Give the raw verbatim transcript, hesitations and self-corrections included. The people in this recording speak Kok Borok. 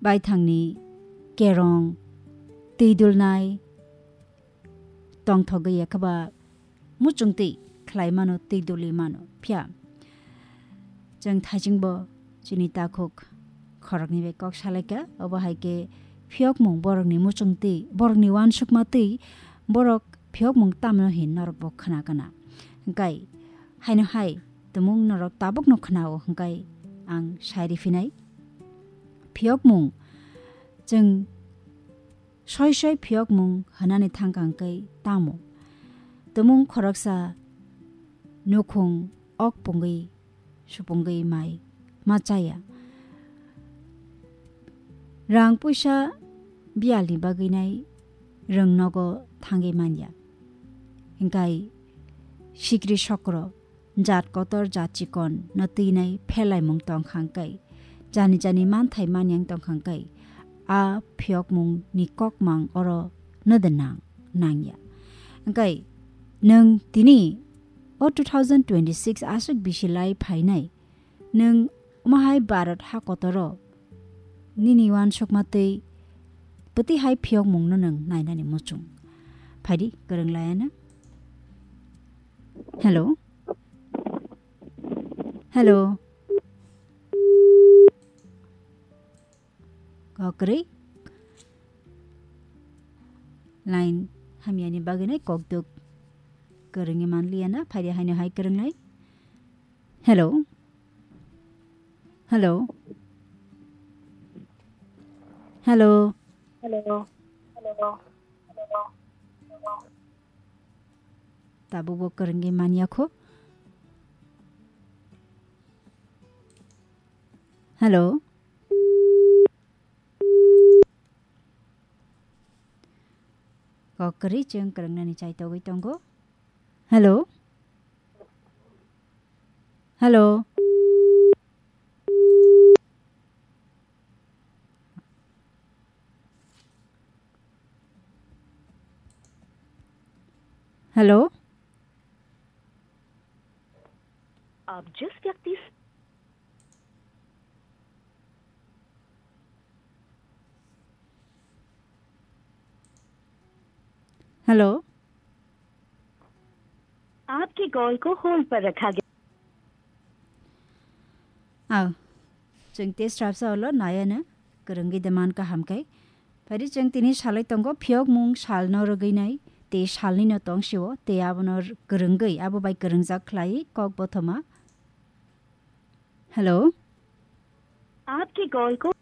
baithangni kerong, twi dulnai, tongthogwi ekhaba muchungtwi khlai mano, twi duli mano. Phiya chwng thaisingbo chini takhuk khoroknwi bai kok salaikha, obo hai khe phiyokmung borokni muchungtwi, borokni uansukma twi, borok phiyokmung tamno hin norokbo khna kana. Hwnkhe haino hai tumung norok tabukno khnao, hwnkhe ang sai riphinai. Phiyokmung, chwng soi soi phiyokmung hwnani thangkha hwnkhe tamo? Tumung khoroksa nukhung ok pungwi supungwi mai ma chaya. Rang puisa biyalni bagwi nai rwng nogo thangwi manya. Hwnkhe sikri sokro, jat kotor jat chikon no twinai phelaimung tongkha hwnkhe, jani jani manthai manyang tongkha hwnkhe, a phiyokmung ni kokmang oro no de nang, nangya. Hwnkhe nwng tini o two thousand twenty-six aswk bisi lai phainai, nwng omo hai Bharat ha kotoro nini uansukma twi bwtwi hai phiyokmung no nwng nainani muchung? Phaidi, kwrwng laiya na. Hello? Hello? Kok kwrwi? Line hamyani bagwi nai kokduk kwrwngwi manliya na, phaidi haino hai kwrwngnai. Hello? Hello? Hello? Hello? Hello? Tabukbo kwrwngwi manyakho. Hello? Kok kwrwi chwng kwrwngnani chaitogwi tongo. Hello? Hello? Hello? आप जिस व्यक्ति Hello? आपके कॉल को होल्ड पर रखा गया। Aw, chwng tei srapsa ulo nayana kwrwngwi de man kaham khe. Phari chwng tini salai tongo phiyokmung salno rwgwi nai, tei salnino tong sio, tei abono r-, kwrwngwi, abo bai kwrwngjak khlai kok bothoma. Hello? आपके कॉल को